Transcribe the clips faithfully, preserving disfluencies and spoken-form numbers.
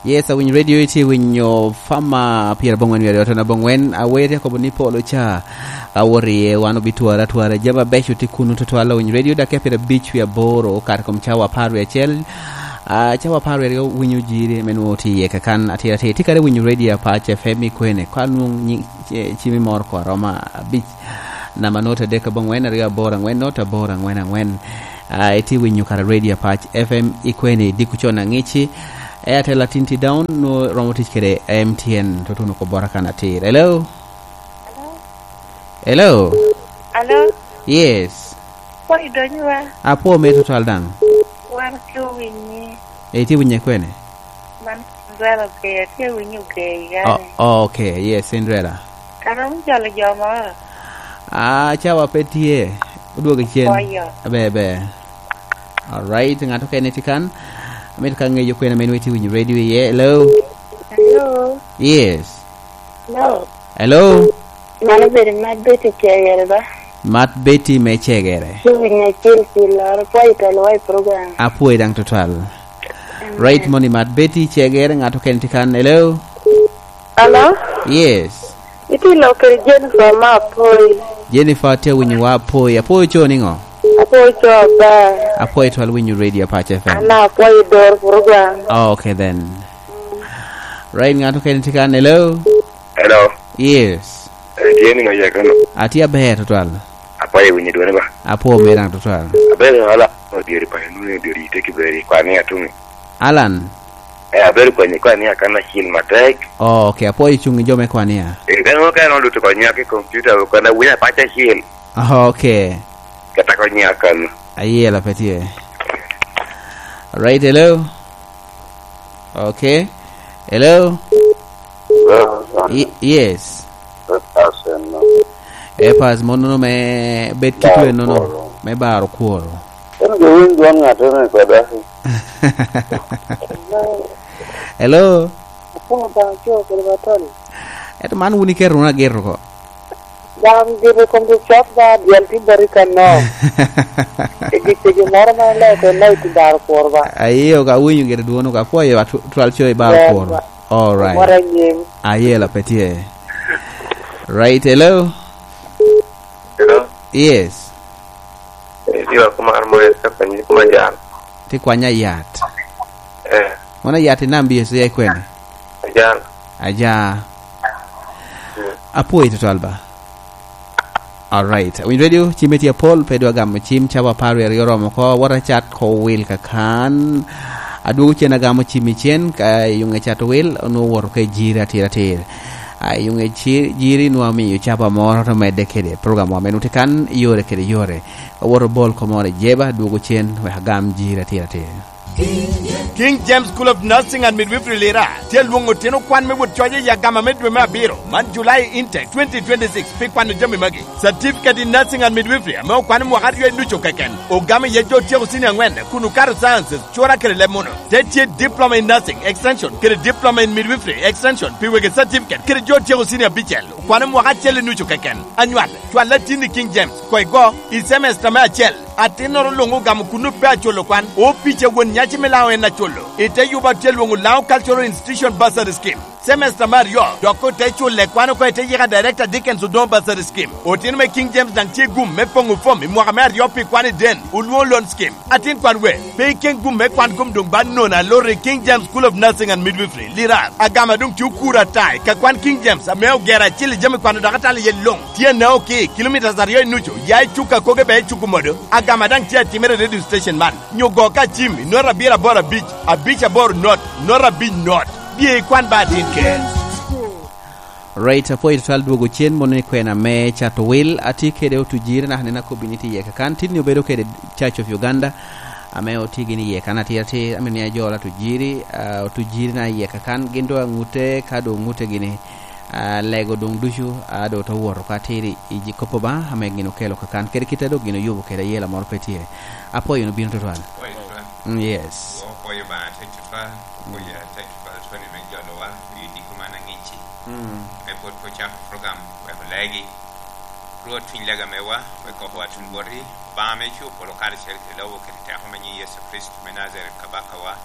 Yes, awinyo radio iti winyo fama piero abongwen wiye aryo tono abongwen aweri akobo ni polo cha awori wan obitwara twara jama becho ti kunu tutwal awinyo radio dakika piero abic wiye aboro kar kom cawa apar wiye acel uh, cawa apar wiye aryo winyo jiri menwo ti iye kakan atir atir ti kare winyo radio Apac F M ikwene ka nwong cimi moro ko aroma abic namba not adek abongwen aryo aboro angwen not aboro angwen angwen uh, iti winyo kara radio Apac F M ikwene diko chon ang'ichi Airtel atinti down no romo tich kede M T N to tuno ko bora kana atir. Hello? Hello? Hello? Yes. Poi donywa. Apo me total dang. Wan ki winyi. E ti winye kwene? Man Cinderella ke ti winyi ke Oh, gane. okay, yes, Cinderella. Kana mjalo joma. Ah, chawa petie. Uduogo chien. Koyo. Be be. All right, ng'ato kene tikan. Amit ka ng'eyo kwene men weti winyo radio ye. Hello? Hello. Yes. Hello. Hello? Mano bedo mat Betty chegere ba. Mat Betty me chegere. Ki winyi chil chil poi telo wai program. Apuoy dang total. Right money mat Betty chegere ng'ato kene tikan. Hello? Hello? Yes. Iti lokere Jennifer ma poi. Jennifer te winyo wa apuoy. Apuoy cho ningo? Apuoy cho ba. Apuoy twal winyo radio Apac F M. Ana apuoy dor program. Oh, okay then. Right, ng'ato kene tikan. Hello? Hello. Yes. Tieni ngo yekono. Ati aber total. Apaye winyi duone ba. Apuo merang total. Aber ala odieri pa nune diori te kiberi kwani atumi. Alan. Eh aber kwenye kwani akana chil matek. Oh, okay. Apuoy chungi jome kwania. Eh kano kano luto konya ke computer ko na winya pacha chil. Oh, okay. Kata konya kan. Ayiela petie. Right, hello. Okay. Hello. Y yes. Epas monono me bet kitwe nono me baro kuoro. En jowinj wan ng'ato ne koda. Hello. Kuma ba cho kere batoli. Eto man wuni kero na gero ko. Gam dire kom de chok ba diel ti bari kan no. E gi moro ma le ko no ti bar kuor ba. Ayo ka winyo gere duono ka poyo twal cho e baro kuoro. All right. Mora nyim. Ayiela petie. Right, hello. Hello. Yes. Eh diwa kuma armo ya kwenye kuma jan. Ti kwanya yat. Eh Mona yat nambi yeso ya kwene. Jan. Aja. Apuoy total ba. All right. Win radio chimeti Paul pedwa gamo chim chawa paru ariyo romo ko wara chat ko wil kakan. Aduogo chien agamo chimi chien ka yunge chat wil nuwuoro ke jiri atir atir. Yunge jiri nwamiyo chapa moro to mede kede program wa menu tikan yore kede yore. Woro bol komore jeba duogo chien we agam jiri atir atir. King James School of Nursing and Midwifery Lira tie luongo otieno kwan mewuot choje ya gama me dwe me abiro man July intake twenty twenty-six pi kwano jami magi Certificate in Nursing and Midwifery ame okwan mwaka ariyo inucho keken ogame ye jo tieko sini ang'wen kunu karo sciences chora kere leb muno te tie Diploma in Nursing Extension kere Diploma in Midwifery Extension pi wege certificate kere jo tieko sini abichel kwan mwaka achiel inucho keken anywal chwal latini King James koigo i semester me achiel atin noro luongo gamo kunu pe acholo kwan opiche wuon nyachi milawo en acholo ite yuba tie luongo Lao Cultural Institution Bursary Scheme semester mar yo dok te chule kwan ko ite yika Director Dickens Odon Bursary Scheme otin me King James dang tie gum me pongo fom i mwaka me ariyo pi kwan i den uluo loan scheme atin kwan we pe ken gum me kwan gum dung ban nona lori King James School of Nursing and Midwifery Lira agama dung tiu kura tai ka kwan King James ame ogera chili jami kwan dakatali ye long tie ne oki kilometers ariyo inucho ya chuka koge be chuku modo agama dang tie timere radio station man nyugo ka chimi nora bira bora beach abich aboro not nora beach not bie kwan ba tin ken. Right, apuoy total duogo chien mondo ni kwena me chato wil ati kede otujire na hanena kobini ti yeka kan tini obedo kede Church of Uganda ame otigi ni yeka na tir tir ame ni ajola tujiri uh, otujiri na yeka kan gindo angute kado ngute gini uh, lego dong duchu ado to wuoro ka tiri iji kopo ba ame gino kelo kakan kede kite do gino yubo kede yela moro petie apuoy no bino total. mm, yes. Okoyo ba te tutwa okoyo te tutwa twani me jolowa yidi kumana ngichi e pod po chako program we legi ruot twiny lega mewa we koko atun bori ba me chu polo kar chel ke lowo ke te ho menyi Yesu Kristo me Nazareth kabaka wa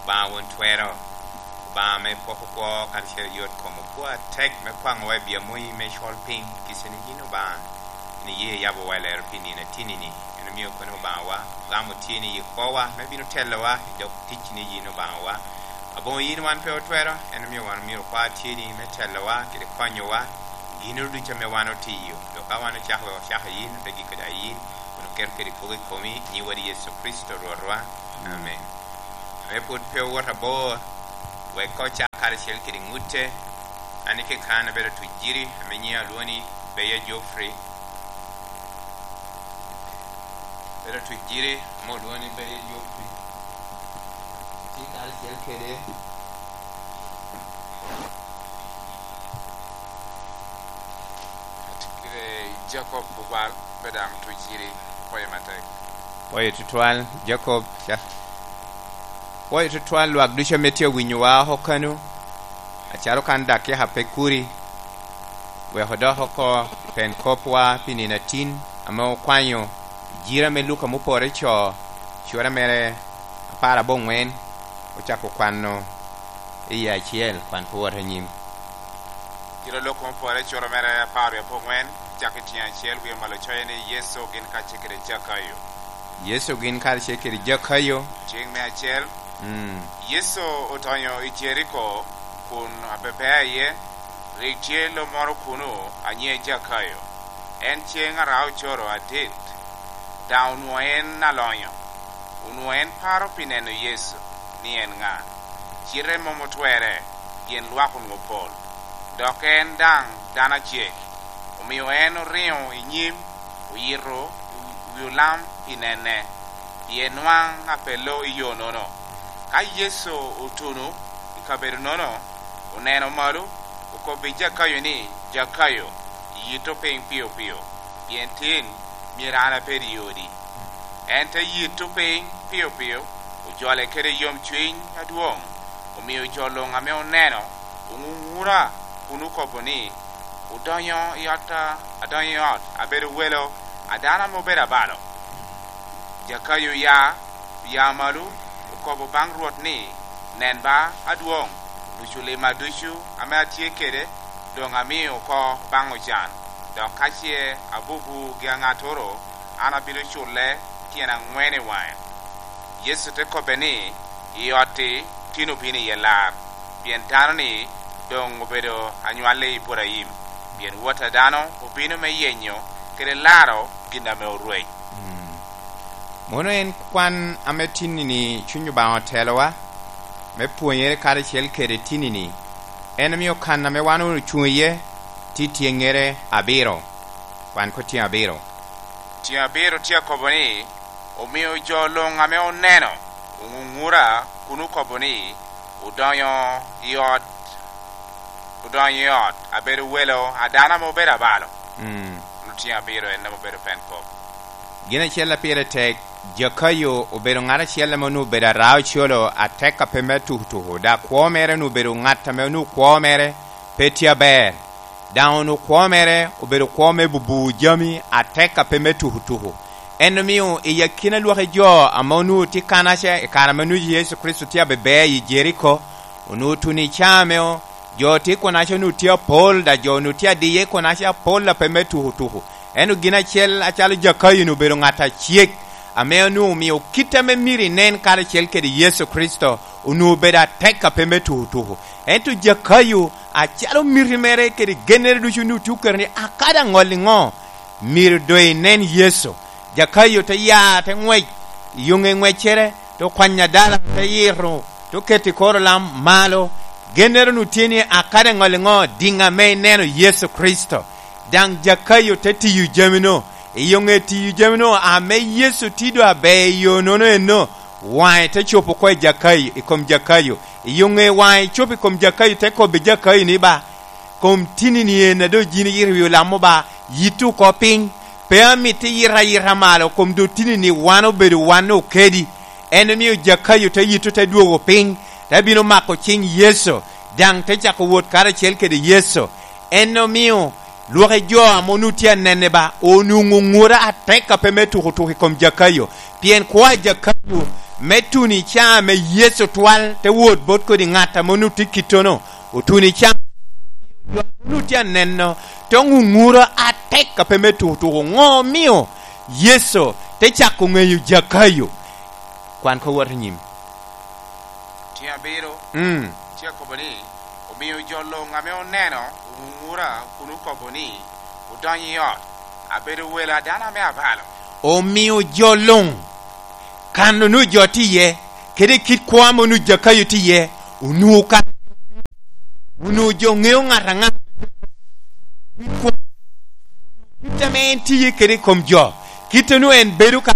ba won twero Obanga me poko kwo kar yot kom okwo tek me kwang'o wa i bia moi me col piny kiseni yin Obanga ni ye yabo wa lero pi nino tinini en omiyo kono Obanga wa ogamo tye ni i kwowa me bino telowa i dog tic ni yin Obanga wa abongo yin wan pe otwero en omiyo wan omyero kwa tye ni me telowa kede konyowa gino ducu me wan otiyo dok ka wan ocako wek ocako yin ote giko da yin kun oketo kede kwogo i komi nyi wadi Yecu Kristo Rwotwa amen. Ame pud pe owot abor wek ko cak karacel kede ngute an kekan abedo tuc jiri ame nyinga alwongo ni Beya Geoffrey bedo tuc jiri ame olwongo ni Beya Geoffrey tye karacel kede Kire Jacob Bubal bedang tuc jiri poyo matek. Poyo tutwal Jacob ca poyo tutwal lwak ducu ame tye winyowa oko kanu acalo kan dakika pe kuri wek odok oko pen kopwa pi nino atin ame okwanyo jira me Luka mupore co cura mere apar abongwen ochako kwano iye achiel kwan pe wot anyim. Jira Luka mupore cura mere apar abongwen chako tyeng achiel wiye malo coye ni Yecu gin kacel kede Jakayo. Yecu gin kacel kede Jakayo. Tyeng me achiel Mm. Yecu otonyo i Jeriko kun abebea iye rik tye lo moro kunu anyie Jakayo. En ceng arao coro adit da onwongo en alonyo onwongo en paro pi neno Yecu ni en ng'a cite mom otwere pien lwak onwongo pol dok en dang dano acek omio en oringo i nyim oyito wi olam pi nene pien nwang apelo i yo nono. Ka Yecu otunu i kabedo nono oneno malo okobo Jakayo ni Jakayo yito piny piyo piyo pien tin myero an abed i odi. En te yito piny piyo piyo ojole kede yomcwiny adwong omio jo luŋ ame oneno ongungura kun okobo ni odonyo i ot adonyo i ot abedo welo adano ame obedo abalo. Jakayo ya ya malo okobo baŋ Rwot ni nen ba adwong nucu lima ducu ame atye kede dong amio oko baŋ ocan dok ka ce abubu gi aŋatoro an abino cule tyen angwen i waŋe. Yecu te kobe ni i ot-ti tin obino iye lar pien dano-ni dong obedo anywalli Iburaim pien wot a dano obino me yenyo kede laro gin ame orweny. Mono en kwan ame tinini cwiny Obanga otelowa me pwonyere karacel kede tinini en omio kan ame wan ocung iye tye tyengere abiro kwan ko tyeng abiro. Tyeng abiro tye akobo ni omio jo luŋ ame oneno ongungura kun okobo ni odonyo i ot odonyo i ot abedo welo adano ame obedo abalo. Mm. Ono tyeng abiro en ame obedo pen kop. Gin achiel a pire tek Jakayo obedo ŋat achiel ame onwongo obedo arao colo atek ka pe me tukutuku da kwo mere onwongo obedo ŋat ame onwongo kwo mere pe tye aber daŋ onwongo kwo mere obedo kwo me bubu jami atek ka pe me tukutuku en omio i akina lwaki jo ame onwongo tye kanaca i kare ame onwongo Yecu Kristo tye abebea i Jeriko onwongo tuni i caa meo jo tye kunaca onwongo tye apol da jo onwongo tye adiye kunaca apol a pe me tukutuku ento gin achiel acalo Jakayo ni obedo ŋat acek ame onwongo omio kite me myero inen karacel kede Yecu Kristo onwongo obedo atek ka pe me tukutuku ento Jakayo acalo miti mere kede gennere ducu onwongo tye oketo ni akada aŋol iŋo myero do inen Yecu. Jakayo te ya te ŋwec yonge ŋweccere te okwanyo adala te yito te oketo i kor olam malo gennere onwongo tye ni akada aŋol iŋo diŋa me ineno Yecu Kristo daŋ Jakayo te tiyo jami-no i yonge tiyo jami-no ame Yecu tido aber i yo nono eno waŋe te copo ko i Jakayo i kom Jakayo i yonge waŋe copo i kom Jakayo te kobo Jakayo ni ba kom tinini en ado jin yito i wi olam ba yito oko piny pe amiti yito ayita malo kom do tinini wan obedo wan okedi en omio Jakayo te yito te dwogo piny te bino mako cing Yecu daŋ te cako wot karacel kede Yecu en omio lwaki jo ame onwongo tye anene ba onwongo ngura atek ka pe me tukutuku i kom Jakayo pien kwo a Jakayo Me tuni ca me Yecu twal te wot bot kodi ng'at ame onongo tye kitono otuni ca onongo tye aneno te ongunguro atek ka pe me tukutuku ngo mio Yecu te cako ngeyo Jakayo kwan ko wot anyim. Tyeng abiro, Mm. Tye akobo ni, Omiyo jo long ame oneno ongungura kun okobo ni, Odonyo i ot, abedo welo a dano ame abalo. Omiyo jo long kan onongo jo tye iye, kede kit kwo ame onongo Jakayo tye iye, onongo kan onongo jo ngeyo ngat anga kit kwo kit ame en tye iye kede i kom jo, kit onongo en bedo ka